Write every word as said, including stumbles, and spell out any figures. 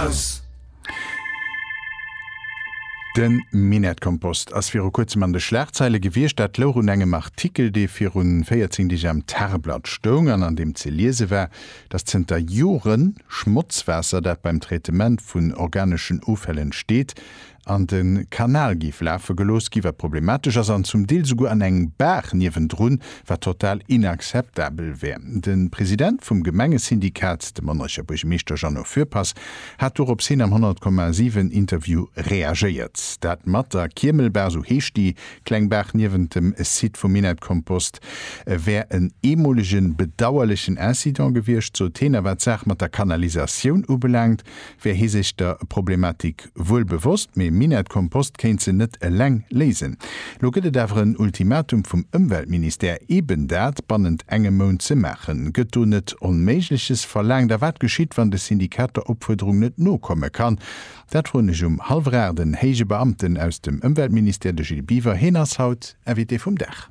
Aus. De Minettkompost ass viru kuerzem an de Schlagzeile gewiescht. Dat louch un engem Artikel, dee viru véierzéng Deeg am Tageblatt stoung an an deem ze liese war, datt zënter Jore Schmotzwaasser, dat beim Traitement vun organeschen Offäll entsteet, an de Kanal géif lafe gelooss gi, wat problematesch ass, an zum Deel souguer an eng Baach niewendrun, wat total inakzeptabel wär. De President vum Gemengesyndikat, de Monnerecher Buergermeeschter Jeannot Fürpass, hat dorops hin am honnert Komma siwen Interview reagéiert. Dat mat der Kiermelbaach, sou heescht déi kleng Baach niewent dem Site vum Minettkompost, wär en eemolegen, bedauerlechen Incident gewiescht, sot hien. A wat d'Saach mat der Kanalisatioun ubelaangt, wär hie sech der Problematik wuel bewosst, mee Minettkompost kéint se net eleng léisen. Lo gëtt et awer en Ultimatum vum Ëmweltministère, eben dat bannent engem Mount ze maachen. Gëtt do net Onméigleches verlaangt? A wat geschitt, wann de Syndikat der Opfuerderung net nokomme kann? Dat froen ech um hallwer aacht en héije Beamten aus dem Ëmweltministère, de Gilles Biver. Hien ass haut Invité vum Dag.